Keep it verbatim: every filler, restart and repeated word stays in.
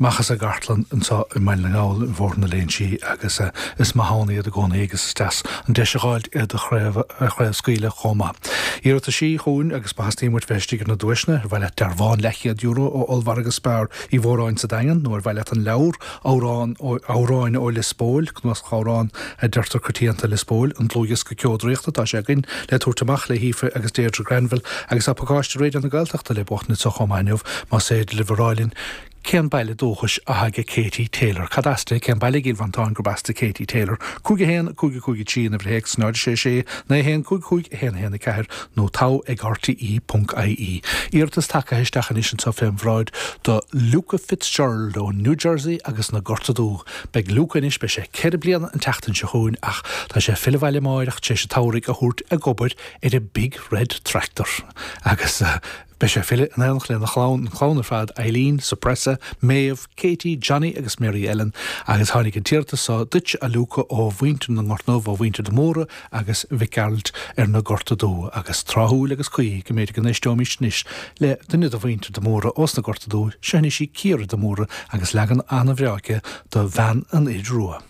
Amach as an gcartlann anseo i mBaile na nGall ar Bhóthar na Léinsí agus is maith ann iad i gcónaí agus is deas an deis a dh'fháilt iad a chraobhscaoileadh chomh maith. Iarrataisí chugainn agus má theastaíonn uait bheith istigh ar na duaiseanna, ar mhaith leat dearbhán leathchéad euro ó Ollmhargadh Spar Uí Mhóráin sa Daingean nó ar mhaith leat an leabhar Amhrán Amhráin ó Lios Póil, cnuasach amhrán a deirtear coitianta Lios Póil, an dlúthdhiosca Ceo Draíochta atá sé againn le tabhairt amach le hAoife agus Deirdre Granville agus tá pacáiste Raidió na Gaeltachta le buachtaint anseo chomh maith inniu más féidir libh a rá linn Cén baile dúchais atá aige Katie Taylor? Cad as di? Cén baile i gCill Mhantáin gurb as di Katie Taylor? Cúig a haon, cúig a cúig a trí an uimhir théacs, náid a sé sé, naoi a haon, cúig cúig, a haon a haon a ceathair nó togha ag rte ponc ie. Iarratas tagtha isteach anois anseo fén bhráid do Luca Fitzgerald ó New Jersey agus na Gorta Dubha. Beidh Luca anois, beidh sé ceithre bliana an tseachtain seo chugainn ach tá sé ag filleadh abhaile amáireach tar éis an tsamhraidh a thabhairt ag obair ar an Big Red Tractor agus Beidh sé ag filleadh in éineacht lena chlann, an chlann ar fad, Eileen, Suppressa, Maeve, Katie, Johnny agus Mary Ellen agus tháinig an t-iarratas seo duit, a Luca, ó mhuintir na nGort nDubh, ó mhuintir de Mórdha agus Mhic Gearailt ar na Gorta Dubha agus tráthúil agus cuí go mb'fhéidir go n-éisteoimis anois le duine de mhuintir de Mórdha ós na Gorta Dubha, seo anois í Ciara de Mórdha agus leagan an-bhreá aici de Bhean an Fhir Rua.